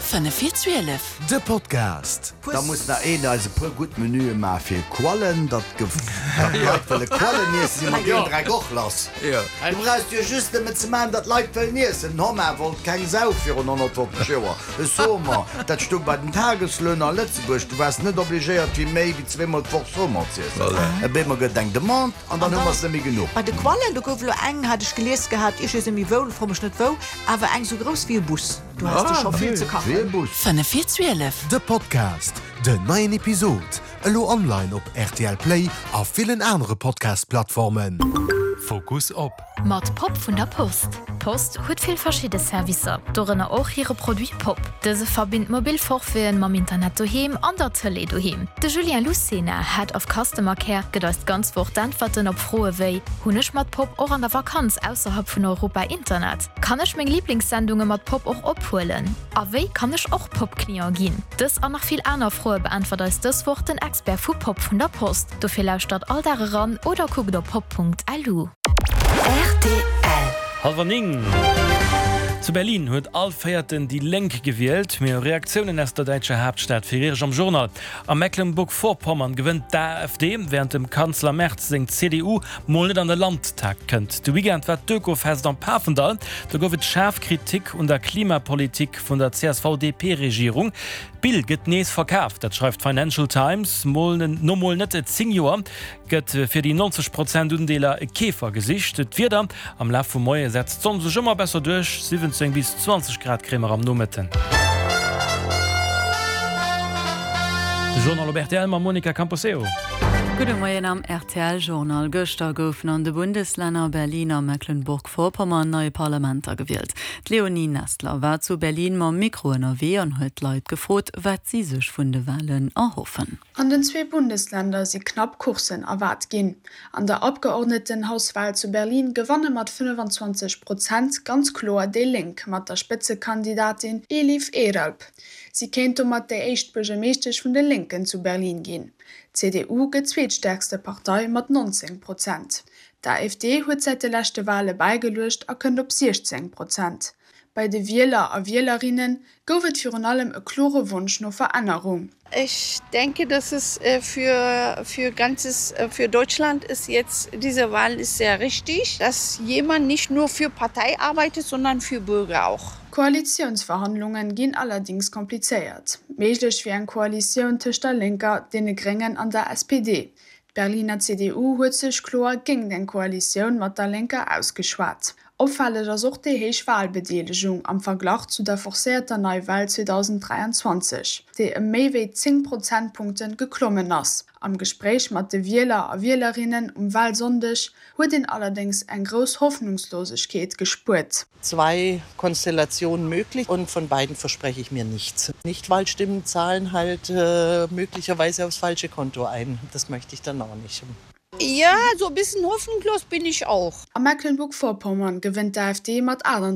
Fënnef vir 12. De Podcast. Da muss nach een eis e puer gutt Menüe maache fir Quallen, datt d'Leit wëlle Quallen iessen, si mer deen Dreck och lass. Du brauchst jo just nëmmen ze maachen, datt d'Leit wëllen iessen. Den Homard wollt keng Sau virun 150 Joer. E Saumon, dat stoung bei den Tageslöhner a Lëtzebuerg. Du waars net obligéiert fir méi wéi zweemol d'Woch Saumon z'iessen. Op eemol gëtt et eng Demande an dann hu mer se net méi genuch. Bei de Quallen, do gouf elo eng, hat ech gelies gehat, ech weess net méi wou, fro mech net wou, awer eng sou grouss wéi e Bus. Du has de scho vill ze kachen. 5 vir 12. De Podcast, Den neien Episod elo online op rtl Play a villen anere Podcast-Plattformen. Fokus op. Mat Pop vun der Post. D'Post huet vill verschidde Servicer, dorënner och hire Produit Pop. Dëse verbinnt mobil Forfaiten mam Internet doheem an der Tëlee doheem. De Julien Lucena, Head of Customer Care, gëtt eis d'ganz Woch d'Äntwerten op Froe wéi, Hunn ech mat Pop och an der Vakanz ausserhalb vun Europa Internet? Kann ech meng Liblingssendunge mat Pop och ophuelen? A wéi kann ech och Pop-Client ginn? Dës an nach vill aner Froe beäntwert eis dës Woch den Expert vu Pop vun der Post. Dofir lauschtert all Dag eran oder kuckt op pop.lu. Rtl. Hallwer 9. Zu Berlin huet all Véierten déi Lénk gewielt. Mir hu Reaktiounen aus der däitscher Haaptstad fir Iech am Journal. A Mecklenburg-Vorpommern gewënnt d'AfD, wärend dem Kanzler Merz seng CDU mol net an de Landtag kënnt. De Weekend war d'Ökofest am Pafendall. Do gouf et schaarf Kritik un der Klimapolitik vun der CSV-DP-Regierung. D'Bill gëtt nees verkaf, dat schreift d'Financial Times. Mol no mol net 10 Joer gëtt fir déi 90 Prozent Undeeler e Keefer gesicht. D'Wieder, Am Laf vum Moie setzt d'Sonn sech ëmmer besser duerch, 17 bis 20 Grad kréie mer am Nomëtten. De Journal op rtl mam Monica Camposeo. Gudde Moien am rtl Journal. Gëschter goufen an de Bundeslänner Berlin a Mecklenburg-Vorpommern nei Parlamenter gewielt. D'Leonie Nestler war zu Berlin mam Mikro ënnerwee an huet d'Leit gefrot, wat si sech vun de Walen erhoffen. An den zwee Bundesländer si knapp Courssen erwaart ginn. An der Abgeordnetenhauswahl zu Berlin gewanne mat 25 Prozent ganz kloer déi Lénk mat der Spëtzekandidatin Elif Eralp. Si kéint domat déi éischt Buergermeeschtesch vun de Lénken zu Berlin ginn. D'CDU gëtt zweetstäerkste Partei mat 19 Prozent. D'AfD huet säit de leschte Wale bäigeluecht a kënnt op 16 Prozent. Bei de Wieler a Wielerinne gouf et virun allem e klore Wonsch no Verännerung. Ich denke, dass es für, für ganzes, für Deutschland ist jetzt, diese Wahl ist sehr richtig, dass jemand nicht nur für Partei arbeitet, sondern für Bürger auch. Koalitiounsverhandlunge ginn allerdéngs komplizéiert. Méiglech wier eng Koalitioun tëscht der Lénker, deene Gréngen an der SPD. D'Berliner CDU huet sech kloer géingt eng Koalitioun mat der Lénker ausgeschwat. Opfälleg ass och déi héich Walbedeelegung am Verglach zu der forcéierter Neiwal 2023, déi ëm méi wéi 10 Prozentpunkte geklommen ass. Am Gespréich mat de Wieler a Wielerinnen um Walsonndeg huet een allerdéngs eng grouss Hoffnungslosegkeet gespuert. Zwei Konstellationen möglich und von beiden verspreche ich mir nichts. Nichtwahlstimmen zahlen halt möglicherweise aufs falsche Konto ein. Das möchte ich dann auch nicht. Ja, so e bissen hoffnungslos bin ich auch. A Mecklenburg-Vorpommern gewënnt d'AfD mat 38.